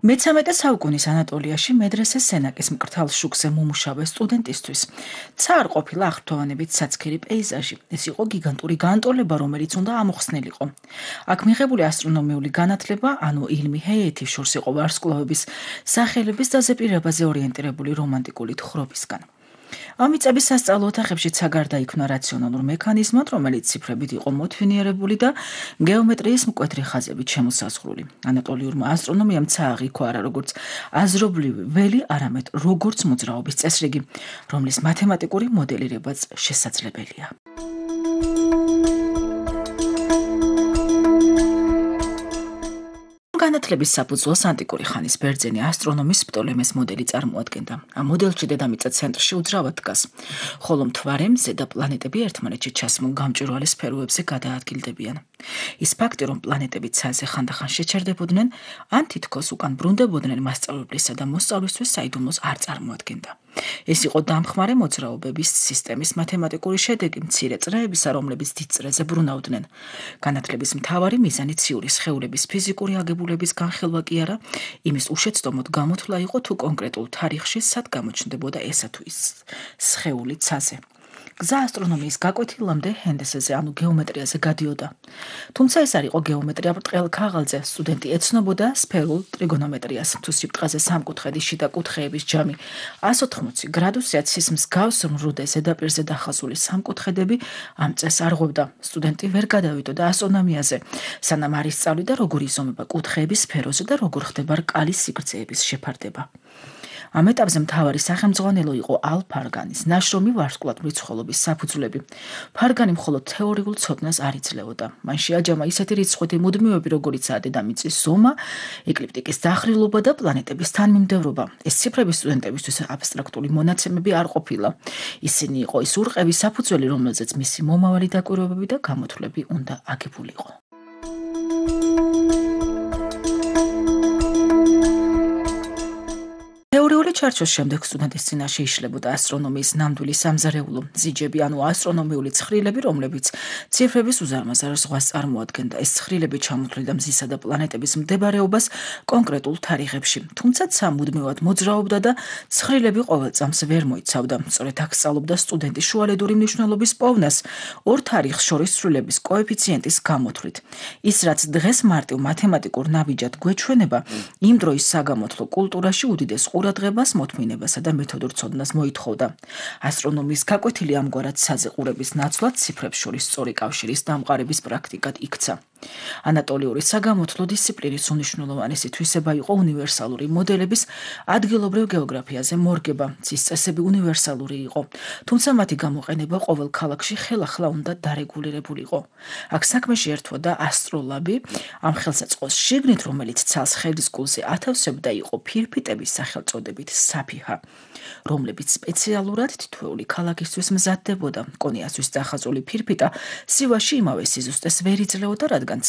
მე-13 საუკუნის ანატოლიაში მედრესეს სენაკის მკრთალ შუქზე მომუშავე სტუდენტისთვის ცა არ ყოფილა აღფრთოვანებით ცაცქერი პეიზაჟი. ეს იყო გიგანტური განტოლება, რომელიც უნდა ამოხსნილიყო. აქ მიღებული ასტრონომიული განათლება, ანუ ილმი ჰეიეთის შორს იყო ვარსკვლავების სახელების დაზეპირებაზე ორიენტირებული რომანტიკული თხრობისგან. ამ მიწების სასწავლო ოთახებშიც გარდაიქმნა რაციონალურ მექანიზმად, რომელიც ციფრებით იყო მოთვინიერებული და გეომეტრიის მკვეთრი ხაზებით შემოსაზღვრული. ანატოლიურმა ასტრონომიამ ცა აღიქვა არა როგორც აზრობრივი ველი, არამედ როგორც მოძრაობის წესრიგი, რომლის მათემატიკური მოდელირებაც შესაძლებელია. განათლების საფუძველს ანტიკური ხანის ბერძენი ასტრონომის პტოლემეს მოდელი წარმოადგენდა. ამ მოდელში დედამიწა ცენტრში უძრავად დგას, ხოლო მთვარე, მზე და პლანეტები ერთმანეთში ჩასმულ გამჭვირვალე სფეროებზე გადაადგილდებიან. ის ფაქტი, რომ პლანეტები ცაზე ხანდახან შეჩერდებოდნენ, ან თითქოს უკან ბრუნდებოდნენ მასწავლებლისა და მოსწავლისთვის საიდუმლოს არ წარმოადგენდა. ეს იყო დამხმარე მოძრაობების სისტემის მათემატიკური შედეგი მცირე წრეებისა, რომლებიც დიდ წრეზე ბრუნავდნენ. განათლების მთავარი მიზანი ციური სხეულების ფიზიკური აგებულების განხილვა კი არა, იმის უშეცდომოდ გამოთვლა იყო თუ კონკრეტულ თარიღში სად გამოჩნდებოდა ესა თუ ის სხეული ცაზე. გზა ასტრონომიის გაკვეთილამდე ჰენდესეზე, ანუ გეომეტრიაზე გადიოდა. თუმცა ეს არ იყო გეომეტრია ბრტყელ ქაღალდზე, სტუდენტი ეცნობოდა სფერულ ტრიგონომეტრიას, თუ სიბრტყეზე სამკუთხედის შიდა კუთხეების ჯამი 180 გრადუსია, ცის მსგავს მრუდე ზედაპირზე დახაზული სამკუთხედები ამ წესს არღვევდა. სტუდენტი ვერ გადავიდოდა ასტრონომიაზე, სანამ არ ისწავლიდა როგორ იზომება კუთხეების სფეროზე და როგორ ხდება რკალის სიგრძეების შეფარდება. ამ ეტაპზე მთავარი სახელმძღვანელო იყო ალ-ფარგანის ნაშრომი ვარსკვლავად მრეცხველობის საფუძვლები. ფარგანი მხოლოდ თეორიულ ცოდნას არ იძლეოდა. მან შეაჯამა ისეთი რიცხვი მუდმივები, როგორიცაა დედამიწის ზომა, ეკლიპტიკის დახრილობა და პლანეტების თანმიმდევრობა. ეს ციფრები სტუდენტებისთვის აბსტრაქტული მონაცემები არ ყოფილა. ისინი იყო ის ურყევის საფუძველი, რომელზეც მისი მომავალი დაკვირვებები და გამოთვლები უნდა აგებულიყო. თეორიული ჩარჩოს შემდეგ სტუდენტის წინაშე იშლებოდა ასტრონომიის ნამდვილი სამზარეულო ზიჯები, ანუ ასტრონომიული ცხრილები, რომლებიც ციფრების უზარმაზარ ზღვას წარმოადგენდა. ეს ცხრილები ჩამოთვლიდა მზისა და პლანეტების მდებარეობას კონკრეტულ თარიღებში. თუმცა ცა მუდმივად მოძრაობდა და ცხრილები ყოველ წამს ვერ მოიცავდა. სწორედ აქ სწავლობდა სტუდენტი შუალედური მნიშვნელობის პოვნას ორ თარიღს შორის ცვლილების კოეფიციენტის გამოთვლით. ის რაც დღეს მარტივ მათემატიკურ ნაბიჯად გვეჩვენება, იმ დროის საგამოთვლო კულტურაში უდიდეს ყურადღებას, მოთმინებასა და მეთოდურ ცოდნას მოითხოვდა. ასტრონომიის გაკვეთილი ამგვარად საზეყურების ნაცვლად ციფრებს შორის სწორი კავშირის დამყარების პრაქტიკად იქცა. ანატოლიური საგამოთვლო დისციპლინის უნიშნულოვანესი თვისება იყო უნივერსალური მოდელების ადგილობრივ გეოგრაფიაზე მორგება. მის წესები უნივერსალური იყო, თუმცა მათი გამოყენება ყოველ ქალაქში ხელახლა უნდა დარეგულირებულიყო. აქ საქმეში ერთვოდა ასტროლაბი, ამ ხელსაწყოს შიგნით, რომელიც ცალს ხელისკულზე ათავსებდა, იყო ფირფიტების სახელწოდებით საფიჰა, რომლებიც სპეციალურად თითოეული ქალაქისთვის მზადდებოდა. კონიასთვის დახაზული ფირფიტა სივაში იმავე სიზუსტეს ვერ იძლეოდა, რადგან